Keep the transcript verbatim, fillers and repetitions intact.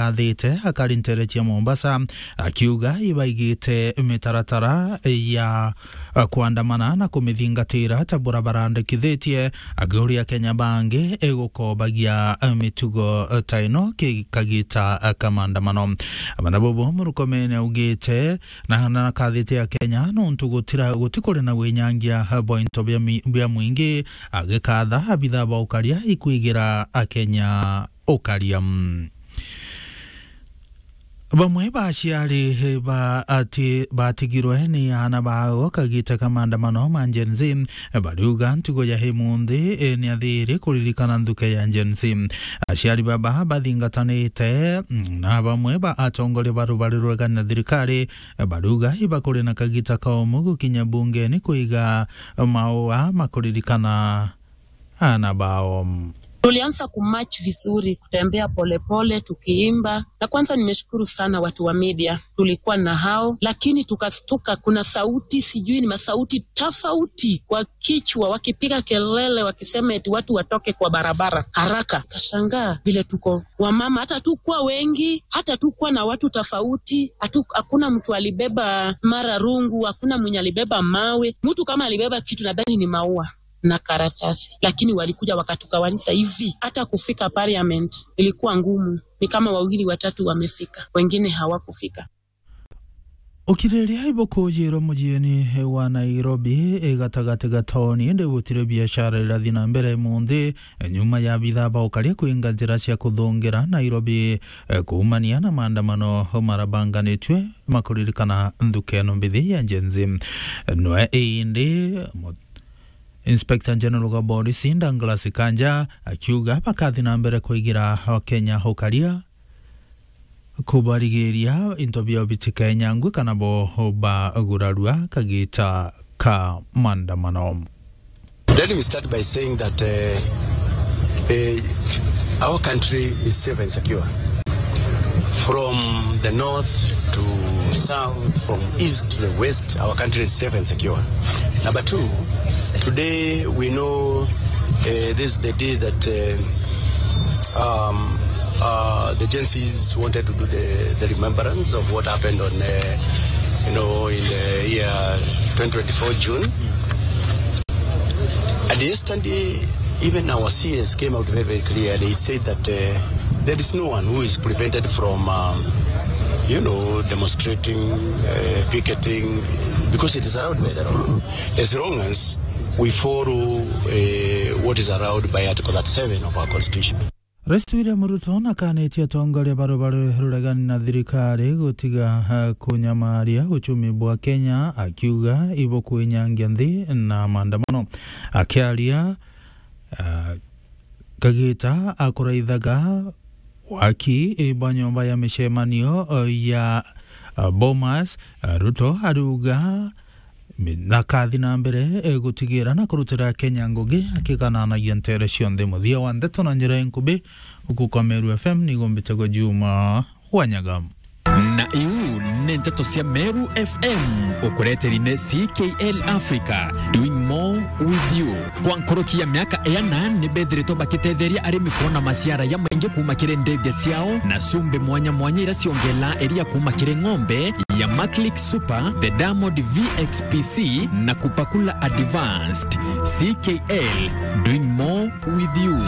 athite akari nteere cia Mombasa, akiuga ibaigite mitaratara ya, eh, kwandamana na kumithingatira ta bura barandikithitie, akiuria Kenya bangi igukobagia, eh, mitugo, eh, ta ino ki-, kagita, eh, ka maandamano. Abana bobo Murkomen augite na, na kathite ya Kenya nontu gutira, gutikuri na winyangia bwa into bia mi-, bia mwingi, agikatha abitha ba ukaria ikwigira Akenya ukaria. Bamwe ba aciari ba ati-, batigirwe ni aana bao kagita ka maandamano ma Gen Z, bariuga ntugo ya imunthi, eh, ni athiri kuririkana nthuke ya Gen Z. Aciari baba bathingatanite, mm, na bamwe ba atongoria ba rubari ruregani na thirikari, eh, bariuga ibakuri na kagita kaomu gukinya bungeni kuiga maua ma kuririkana aana bao. Tulianza kumarch vizuri, kutembea polepole, tukiimba. Na kwanza nimeshukuru sana watu wa media. Tulikuwa na hao, lakini tukastuka, kuna sauti, sijui ni masauti tofauti kwa kichwa, wakipiga kelele, wakisema eti watu watoke kwa barabara haraka. Kashangaa vile tuko wamama, hata tukuwa wengi, hata tukuwa na watu tofauti, hatu-, hakuna mtu alibeba mara rungu, hakuna mwenye alibeba mawe. Mtu kama alibeba kitu, nadhani ni maua na karatasi, lakini walikuja wakatukawanisha hivi. Hata kufika parliament ilikuwa ngumu, ni kama wawili watatu wamefika, wengine hawakufika. Ukiriria ibukujirwa mujieni wa Nairobi, igatagati ga tauni, indi gutiri biashara irathi na mbere munthi, nyuma ya abitha ba ukaria kuinga njira cia kuthungira Nairobi, eh, kuumania na maandamano marabanganitue makuririkana nthuke ino mbithi ya Gen Z. Nwe indi mu-, Inspector General wa Polisi Douglas Kanja akiuga bakathi na mbere kuigira Akenya ukaria kubarigiria into biao bitikenyangwe kana bo bagurarua kagita ka maandamano. Let me start by saying that, uh, uh, our country is safe and secure. From the north to south, from east to the west, our country is safe and secure. Number two, today we know, uh, this is the day that, uh, um, uh, the Gen Zs wanted to do the, the remembrance of what happened on, uh, you know, in the year twenty twenty-four June. And yesterday, even our C S came out very, very clear. They said that, uh, there is no one who is prevented from, um, you know, demonstrating, uh, picketing, because it is allowed by the law. As long as we follow, uh, what is allowed by Article thirty-seven of our Constitution. Rais William Ruto nakanitie atongoria ba rubari ruregani na thirikari gutiga, eh, kunyamaria uchumi bwa Kenya, akiuga ibukwinyangia nthi na maandamano. Akiaria, eh, kagita akuraithaga waki, eh, bwa nyomba ya micemanio, eh, ya, eh, Bomas, eh, Ruto ariuga mi-, na kathi na mbere, eh, gutigira na kurutira Kenya ngugi akigananagia ntere cionthe. Muthia wa ndeto na njira inkubi, uku kwa Meru F M nigo mbitagwa Juma Wanyaga. Na iu ni nteto cia Meru F M, ukureteri ni C K L Africa, doing more with you. Kwa nkuruki ya miaka iana, ni bethiritwe bakitetheria arimi kwona maciara ya maingi kuuma kiri ndithia ciao na cumbi mwanya mwanya iria ciongela iria kuuma kiri ng'ombe ya Maclick Super, the Diamond V X P C na Kupakula Advanced. C K L, doing more with you.